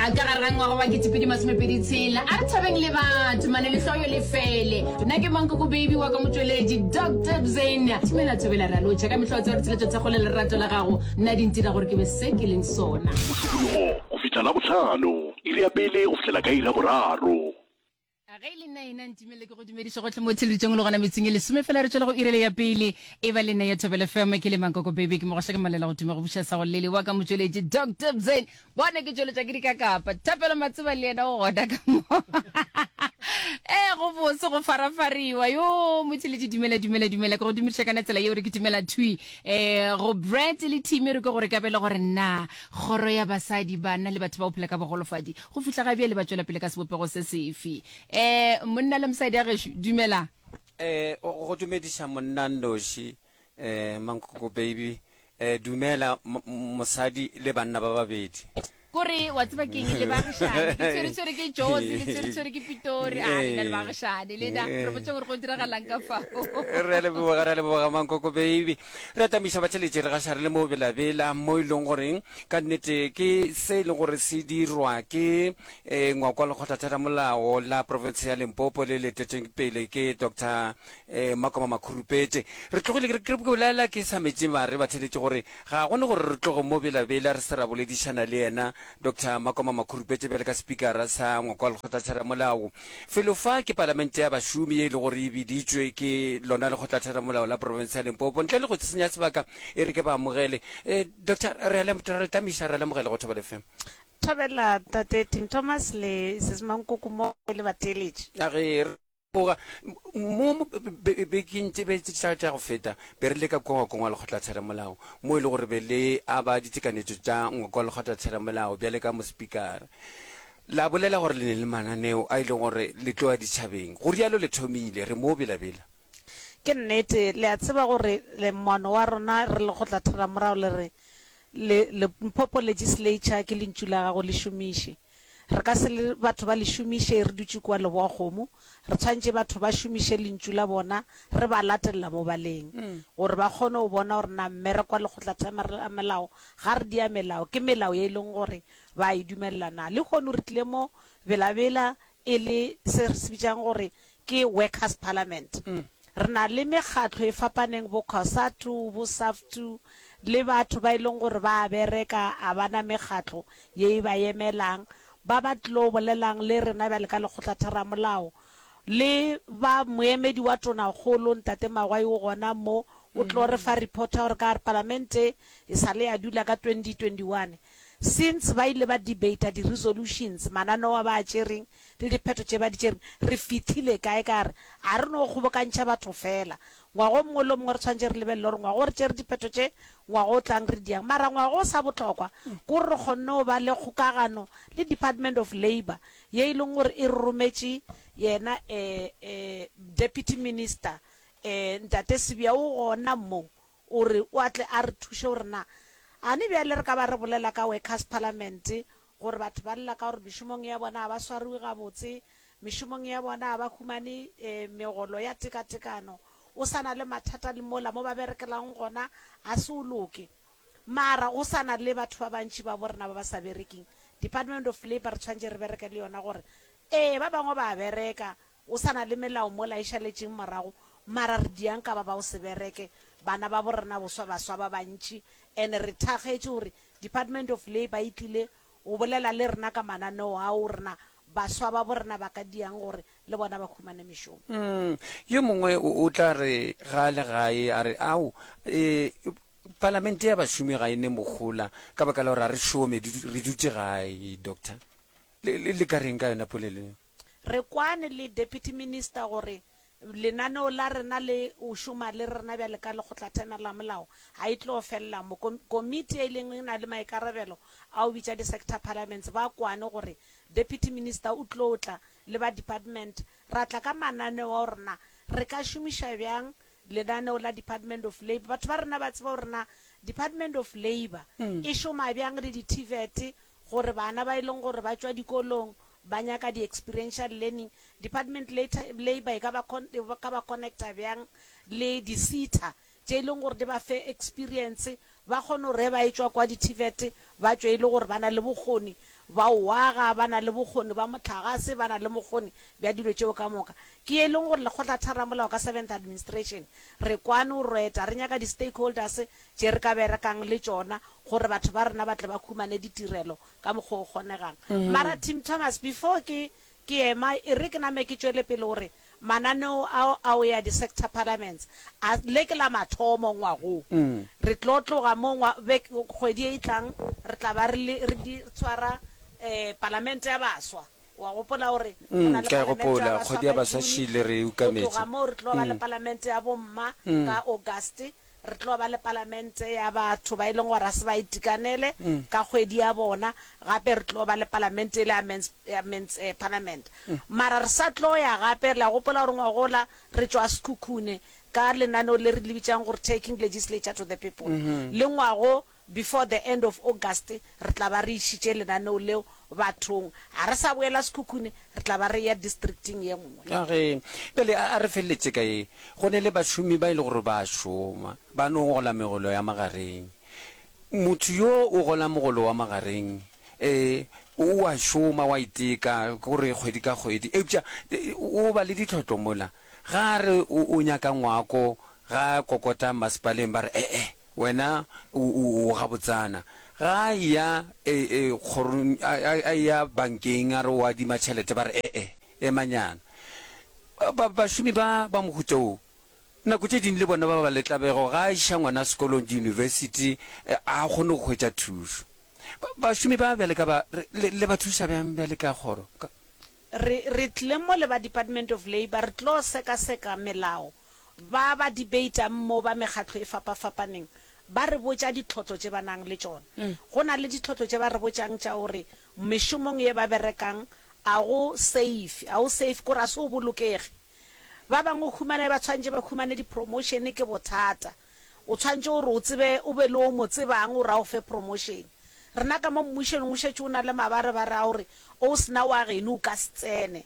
A ka gare ga ngwaga wa 2026, a re thabeng le batho, mane lehloyo le fele. Nna ke Mankoko Baby wa ka motšweletši Doctor Bzane. Thimela thobela re a lotšha ka mehla o tseba ditsela tša thekgo le lerato la gago. Nna di ntira gore ke be se ke leng sona. Mosupologo go fihla Labohlano, iri ya pele go fihlela ka iri ya boraro. A ge e le nna ena ntumele ke go dumediše gohle mo theleditšeng le gona metsing e lesome fela re tšwela go irele ya pele e ba le nna ya Thobela FM ke le Mankoko Baby ke mogoša ke malela go tuma go buša sa go lele wa ka motšweletši Dr Bzane bona ke tšweletša ke dikakapa Thapelo Matseba le yena o gona ka mo ee go bose go farafariwa yo motšweletši dumela dumela dumela ke go dumediša kana tsela yeo re ke dumela thwi um go Brad le team re ke gore ka bele gore na kgoro ya basadi bana le batho ba go phela ka bogolofadi Go fihla ga bjale ba tšwela pele ka sebopego se sefe? Eh, monna le mosadi a gešo, dumela. Eh, go dumediša monna nnoši, eh, Mankoko baby. Eh, dumela mosadi le banna ba babedi. Kore wa tseba keng le baagišane ke tshwere-tshwere ke Jozi le tshwere-tshwere ke Pitori a lena le baagišane lena re botse gore go diragalang ka fao. Re a leboga, re a leboga Mankoko baby. Re atamiša batheletši re gaša re le mo Bela-Bela mo e leng goreng Ka nnete ke se e leng gore se dirwa ke ngwako wa Lekgotlatheramolao la profense ya Limpopo le le etetšweng pele ke Doctor Makoma Makhurupete. Re tlogile ke ke bolela ke sa metše mare batheeletši gore ga go ne gore re tloge mo Bela-Bela re se ra boledišana le yena Doctor Makoma Makhurupete bjale ka Sepikara sa ngwako wa Lekgotlatheramolao. Felo fa ke palamente ya bašomi ye e le gore e biditšwe ke lona Lekgotlatheramolao la profense ya Limpopo. Ntle le go senya sebaka e re ke ba amogele. Doctor, re a lem, re a le tamiša, re a lemogela go Thobela FM. Thobela Tate Tim Thomas le Sis Mankoko mo le batheeletši. A ge re boga mo mo be- bekeng tše be tša tša go feta be re le ka kua ngwakong wa lekgotlatheramolao mo e le gore be le aba ditekanetšo tša ngwako wa lekgotlatheramolao bjale ka mospikara la bolela gore le ne le mananeo a e leng gore le tlo ya ditšhabeng go rialo le thomile re mo belabela Ke nnete, le a tseba gore le moano wa rena re lekgotlatheramorao le re, Le, Limpopo Legislature ke lentšu la gago, le šomiše. Re ka se le batho ba le šomiše re dutše kua Leboakgomo. Re tshwanetše batho ba šomiše lentšu la bona re ba latelela mo ba leng, gore ba kgone go bona gore na mmereko wa lekgotlatheramolao ga re dia melao, ke melao ye e leng gore ba a e dumelela na. Lehono re tlile mo Bela-Bela e le se re se bitšang gore ke Workers Parliament. Re na le mekgatlo e fapaneng bo Cosatu, bo Saftu le batho ba e leng gore ba a bereka a ba na mekgatlo ye e ba emelang ba ba tlo bolelang le rena bjale ka Lekgotlatheramolao le ba moemedi wa Tonakgolo Ntate Magwai o gona mo o tlo re fa report ya gore ka gare Palamente e sa le ya dula ka 2021 since ba ile ba debater di resolutions mananeo a ba a tšereng le diphetho tše ba di tšereng, re fihlile kae? Ka re, A re no kgobokantšha batho feela. Ngwaga o mongwe le o mongwe re swanetše re lebelele gore ngwaga o re tšere diphetho tše, ngwaga o tlang re diang. Mara ngwaga o sa bohlokwa ke gore re kgonne go ba le kgokagano le Department of Labour ye e leng gore e re rometše yena Deputy Minister Ntate Sibiya o gona mo o re o a tle a re thuše gore na ane bjale re ka ba re bolela ka Workers Parliament gore batho ba lla ka gore mešomong ya bona ga ba swariwe gabotse, mešomong ya bona ga ba humane megolo ya tekatekano, o sa na le mathata le mola mo ba berekelang gona ga se o loke. Mara go sa na le batho ba bantši ba borena ba ba sa bereking. Department of Labour re tshwanetše re bereke le yona gore ee ba bangwe ba a bereka, o sa na le melao mola e šaletšeng morago, mara re diang ka ba ba go se bereke, bana ba borena boswa baswa ba bantši and re thakgetše gore Department of Labour e tlile go bolela le rena ka mananeo ao rena baswa ba bo rena ba ka diang gore le bona ba humane mešomo. Umm, yo mongwe o, o tla re ga a le gae, a re, Ao, e, palamente ya bašomi ga e ne mohola ka baka la gore ga re šome, re dutše gae, Doctor. Le, le, le ka reng ka yona polelo ye? Re kwane le Deputy Minister gore lenaneo la rena le o šoma le rena bjale ka Lekgotlathemelamolao ga e tlo felela mo. Komiti e leng e na le maikarabelo a go bitša di-sector parliaments ba kwane gore Deputy Minister o tlo tla le ba department ra tla ka mananeo a gore na re ka šomiša bjang lenaneo la Department of Labour. Batho ba rena ba tseba gore na Department of Labour e šoma bjang le di-TVET gore bana ba e leng gore ba tšwa dikolong ba nyaka di experiential learning, Department Labour e ka ba e ka ba connecta bjang le di SETA tše e leng gore di ba fe experience, ba kgone gore ge ba etšwa kwa di TVET ba tšwe e le gore ba na le bokgoni. ba o aga, ba na le bokgoni ba mohlagase, ba na le mokgoni bja dilo tšeo ka moka. Ke ye e leng gore Lekgotlatheramolao ka Seventh Administration re kwane o reta, re nyaka di-stakeholders tše re ka berekang le tšona gore batho ba rena ba tle ba humane ditirelo ka mokgwa o kgonegang. Mara Tim Thomas, before ke ke ema, e re ke name ke tšwele pele gore mananeo ao a o ya di-sector parliaments, a le ke la mathomo ngwagong. Re tlo tloga mo ngwa, bek, kgwedi e e tlang re tla ba re le, re di tshwara um palamente ya baswa. O a gopola gore go na le Ke a palamente ya gopola, baswa kgwedi ya ka baswa June, šile re e go ukametše. tloga moo re tlo ba le palamente ya bomma ka August, Re tlo ba le palamente ya batho ba e leng gore ga se ba itekanele ka kgwedi ya bona, gape re tlo ba le palamente ele ya Men's, ya Men's eh, Parliament. Mara re sa tlo ya gape, le a gopola gore ngwagola re tšwa Sekhukhune ka lenaneo le re le bitšang gore Taking Legislature to the People. Le ngwago before the end of August re tla ba re išitše lenaneo leo bathong. Ga re sa boela Sekhukhune, re tla ba re eya districting ye nngwe. A ge, bjale a, a re feleletše ka ye. Go ne le bašomi ba e le gore ba a šoma, ba no gola megolo ya magareng. Motho yo o gola mogolo wa magareng, e, o a šoma, o a iteka, ke gore kgwedi ka kgwedi, eupša o ba le ditlhotlo mola. Ga a re o, o nyaka ngwako, ga a kokota masepaleng ba re, e-e, Wena o, o, o gabotsana. Ga a eya e, e, kgorong, a, a, a eya bankeng, a re o adima tšhelete, ba re, E-e, emanyana. Ba, ba, bašomi ba, ba mohuta wo, nako tše ding le bona ba ba le tlabego, ga a iša ngwana sekolong, diyunibesithi, a kgone go hwetša thušo. Ba, bašomi ba bjale ka ba, re, le, le ba thuša bjang bjale ka kgoro? Ka. Re, re tlile mo le ba Department of Labour, re tlo sekaseka melao Ba ba debatang mo ba mekgatlo e fapafapaneng ba re botša ditlhotlo tše ba nang le tšona. Go na le ditlhotlo tše ba re botšang tša gore mešomong ye ba berekang a go safe, a o safe kore a se o bolokege. Ba bangwe o humana ba tshwanetše ba humane di promotion ke bothata. O tshwanetše gore o tsebe o be le o mo tsebang gore a o fe promotion. Rena ka mo mmušong o šetše o na le mabarebare a gore o sena wa geno o ka se tsene.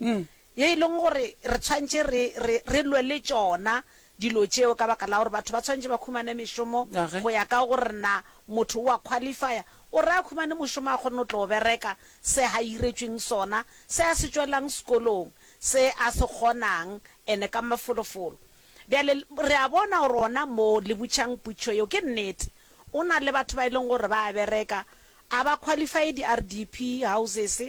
Ye e leng gore re tshwanetše re, re, re lwe le tšona dilo tšeo ka baka la gore batho ba tshwanetše ba khumane mešomo go ya ka gore na motho o a qualifya. O re a khumane mošomo a kgone go tlo bereka se a hiretšweng sona, se a se tšwelang sekolong, se a se kgonang ene ka mafolofolo. Bjale re a bona gore ona moo le butšang putšo yeo ke nnete. O na le batho ba e leng gore ba a bereka A ba qualify di RDP houses,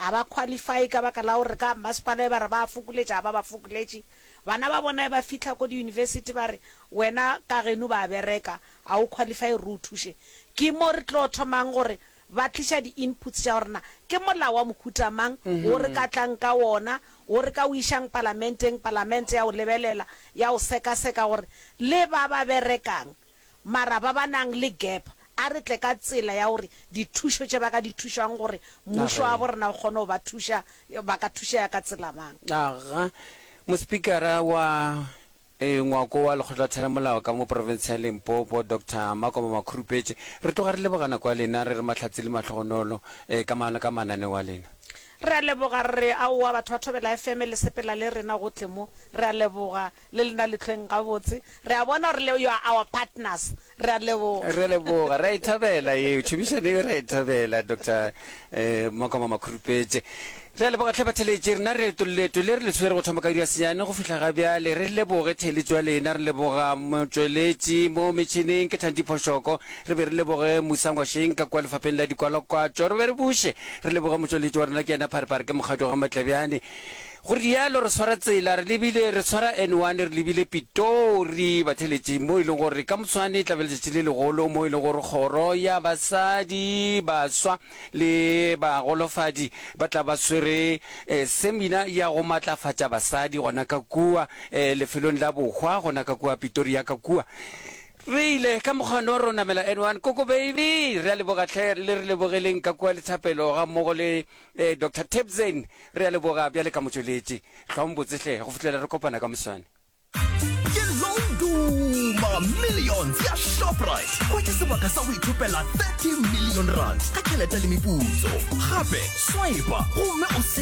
a ba qualify ka baka la gore ka mmasepala e ba re ba a fokoletša, a ba ba fokoletše. Bana ba bona e ba fihla ko di university ba re wena ka geno ba bereka, a o qualify re o thuše. Ke mo re tlo thomang gore ba tliša di inputs tša gore na ke molao wa mohuta mang wo re ka tlang ka wona, wo re ka o išang palamenteng, palamente ya o lebelela, ya o sekaseka gore le ba ba berekang Mara ba ba nang le gap, a re tle ka tsela ya gore dithušo tše ba ka di thušang gore mmušo wa bo rena o kgone go ba thuša, ba ka thušega ka tsela mang? Aga. Mospikara wa Ngwako wa Lekgotlatheramolao ka mo profense ya Limpopo, Doctor Makoma Makhurupetše, re tloga re leboga nako ya lena, re re mahlatse le mahlogonolo ka ka mananeo a lena. Re a leboga, re re aowa batho ba Thobela FM le sepela le rena gohle mo, re a leboga. Le lena le hlweng gabotse. Re a bona gore le you are our partners. Re a leboga. Re a leboga. Re a e thabela yeo. Tšhomišano yeo re a e thabela, Doctor Makoma Makhurupetše. Re a leboga hle batheeletši. Rena re leeto le re le tshwere go thoma ka iri ya senyane go fihla ga bjale. Re leboge theeletšo ya lena. Re leboga motšweletši mo metšhineng ke Thandi Phoshoko. Re be re leboge Musa Ngwasheng ka kua lefapheng la dikwalakwatšo. Re be re buše re leboge motšweletši wa rena ke yena Pharephare ke Mokgadi wa ga Matlebjane. Go rialo re swara tsela re lebile, re swara N1 re lebile Pitori, batheeletši, mo e leng gore ka moswane e tla be letšatši le legolo mo e leng gore kgoro ya basadi, baswa le bagolofadi ba tla ba swere semina ya go matlafatša basadi gona ka kua lefelong la bohwa gona ka kua Pitori ya ka kua. Re ile ka mokgwa no ro namela N1 Koko baby, re a leboga hle le re lebogeleng ka kua Lethapelo gammogo le Ee, Doctor Tebzen, re a leboga bjale ka motšweletši. Hlwang botse hle, go fihlela re kopana ka moswane. Ke Loduma Millions ya Shoprite. Hwetša sebaka sa go ithopela 30 million rand ka tšhelete le meputso. Gape, swipa gomme o se.